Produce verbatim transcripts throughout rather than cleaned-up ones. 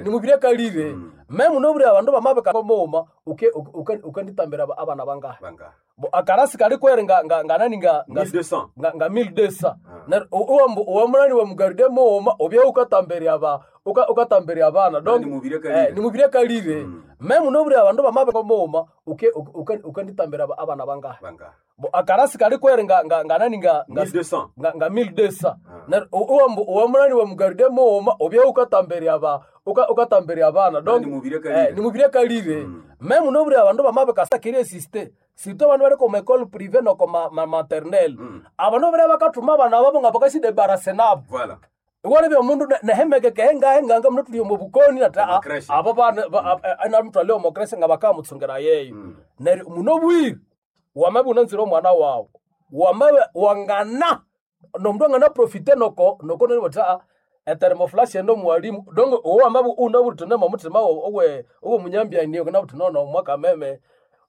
ni mubiri akalire. Mm. Me muno buri abandu bamabika mughuma uke uke ukanditambira aba- abana bangahe. Banga. Bo akarasi kali kwere nga nga nga nani nga nga mille deux cents. nga nga mille deux cents. Ah. Neryo uwa uwa wa mugaride mughuma obya ukatamberia aba uka ukatamberia abana. Ni Donc mubiri akalire. eh, ni mubiri akalire. Mm. Me muno buri abandu bamabika mughuma uke uke ukanditambira aba- abana bangahe. Banga. Bo akarasi kali kwere nga nga nga nani nga nga mille deux cents. nga nga mille deux cents. Ah. Neryo uwa uwa wa mugaride mughuma obya ukatamberia aba uka ukatamberia abana. Donc Ni mubiri akalire. eh, ni mubiri akalire. Mm. Me muno buri abandu bamabika sakiri existe. Surtout abandu bali koma école privée noko ma, ma maternelle. Mm. Abandu bari bakathuma abana babo nga bakasidebarase nabo. Voilà. Iwalebya omundu ne- nehemekeke hengahenganga muno tuli omu bukoni ati Omu a- creche. abo bana namutwale omu creche nga bakamutsungera yeyo. Mm. Neryo muno bwire wamabya unanzire omwana wawu wamabya wangana nomundu angana profite noko noko neryo bathi aa ethermoflash endo mwalimu donc owo wamabya unabwire uthi nomuthima owe owomunyambyani ukanabwire uthi nono mwakameme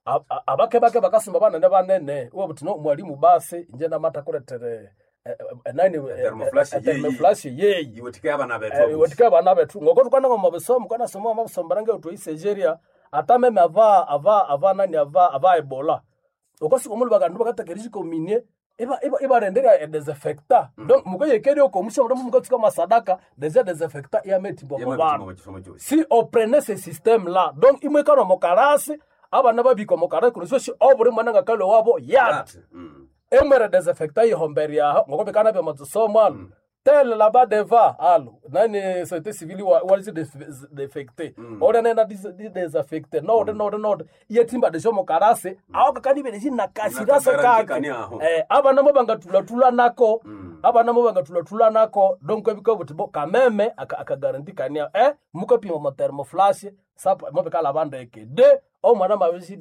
a- a- abake bake bakasumba banene banene iwabwire no mwalimu basi inje namatakulethere nani Thermoflash yeyi. thermoflash yeyi Iwetike abana bethu. Eh, abusi. iwetika abana bethu ngoko tukana ngoma bisomo kana somo amabisomo range utwa Nigeria atameme ava ava ava nani ava ava Ebola okosi omulu bakandu bakatekerisha kominie iba iba ibarendera e désinfectant donc mukayekeri okomusha mulomo mukatsuka masadaka déjà désinfectant yametimbo Yama mu bandu bitima chisomo chosi. si on prenait ce système là donc imwekana mokarasi abana babika mokarasi kuno obuli mwana ngakale wabo yati That. Mm. emwere desinfectant ihombe aho ngoko bikana bya matsomo alo tele là-bas deva alo nani société civile wa walisi défecté ore nena désinfecté no no no yetimba desho mokarasi aho kakani bele na kasirasa Nakagarantee kake kani aho. eh abana mo bangatula nako abana mo bangatula nako donc ebiko buti bo kameme aka akagaranti kani eh mukapima mo thermoflash sapa mo bekala bandeke de omwana mabisi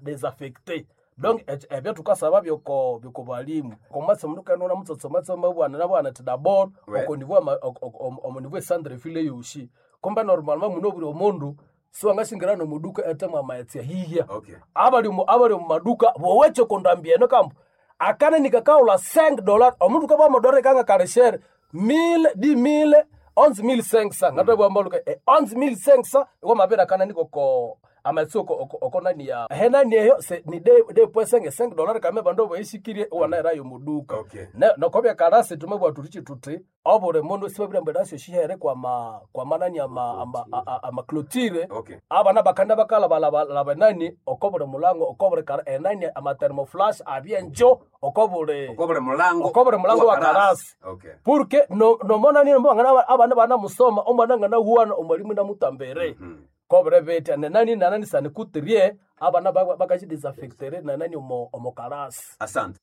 désinfecté donc ebyo tukasaba byoko byoko balimu komatse mundu kanona mutsotsomatse mabwana nabwana ti d'abord Ouais. oko niveau ama- ok- ok- om- omu niveau centre ville yoshi komba normalement muno buri omundu siwangashingira nomuduka etemwa amaetsi hihia Okay. abali mu abali mu maduka boweche kondambieno kambo akana nikakaula cinq dollars omundu kaba modore kanga kareshere mille dix mille onze mille cinq cents ngato bwambaluka eh, onze mille cinq cents iko mapera kana niko ko amatsi oko oko oko nani ya henani eyo se ni de de point cinq cinq dollars kame bando boyishikirie wana erayo muduka Okay. ne nokobya karasi tume bwa turichi tuti obure mundu sibabira mbere asyo shihere kwa ma kwa manani ama ama ama, ama clôture Okay. abana bakanda bakala balaba nani okobule mulango okobule kara enani ama thermoflash abyenjo okobule Okobere mulango. okobule mulango wa karasi Okay. porque no nomona nini mbangana abana bana musoma omwana ngana huwana omwalimu namutambere Mm. kobule bete nenani nanani sani kutirie abana bakachi disinfectere nanani omo omo karasi Asante.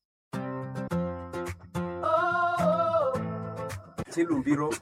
Chilumbiro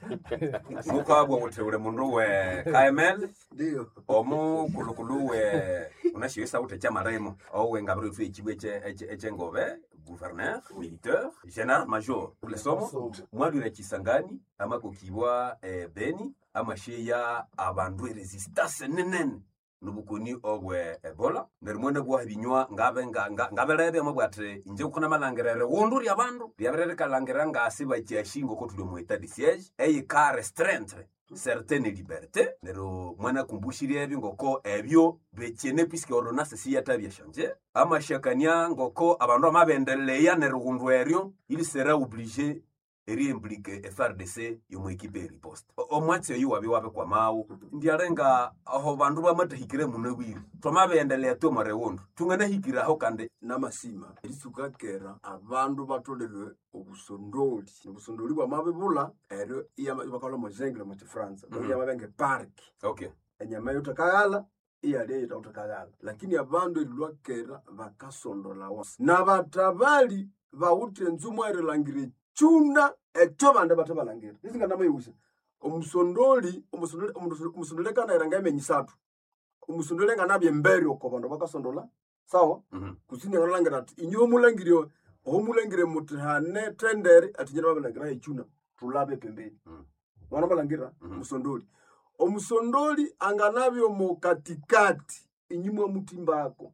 mukabwa uteule mundu we K M L Ndiyo. omukulukulu we unashiwisa ute chamaremo owe ngabiro ithu echibwe eche- eche- echengove gouverneur militaire général major ulesomo mwadwire chisangani amakokibwa eh, Beni amasheya abandu eresistance nenene nobukoni obwe Ebola neryo mwene bwaha binywa ngabe nga- nga- ngabelebe amabwate inje kukhona malangirere wundu lya bandu lyabere likalangirira ngasi bakyashinga oko tuli omu etat de siège eyika restreindre certaines libertés. Neryo mwana akumbushirye ebyo ngoko ebyo bekyene puisque ordonnance siyatabya shanje amashakania ngoko abandu amabendeleya neryo wundu eryo il sera obligé eriimplike F A R D C yomu ekipe eriposte omwatsi oyu wabi wabe kwamawu ndialenga aho bandu bamatahikire muno bwire twamabendelea twomare wundu tunganahikiraho kandi. Namasima eritsuka kera abandu batolere obusondoli obusondoli bwamabibulha eryo iyama- bakalwa mojengere mu kifaransa Mhm. iyamabya park okay enyama yothakaghala iyalya eyithakuthakaghala lakini abandu erilwa kera bakasondolawa nabathabali bawithe enzumwa erilhangira ekyuna ekyo bandi bathabalhangira isinganamayewusa omusondoli omusondoli omusondoli akanaghira emyenyi isathu omusondoli anganabya embere oko bandu bakasondola sawa. Mhm. Kusini angalhangira athi inywe omulhangire ohomulhangire muthi hane tendere athi inye namabilhangira ekyuna thulhabe pembeni. Mm. Wanamalhangira Mhm. musondoli omusondoli anganabya omo katikati inyuma mutimbako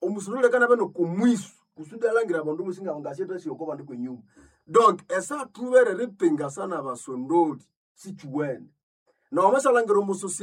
omusondoli akanabya nokumwisu kusudi alhangira abandu bosi ngasyethasya oko bandu kwenyuma donc esathubere eripinga sana abasondoli sikyuwene nowamashalhangira omusosieté.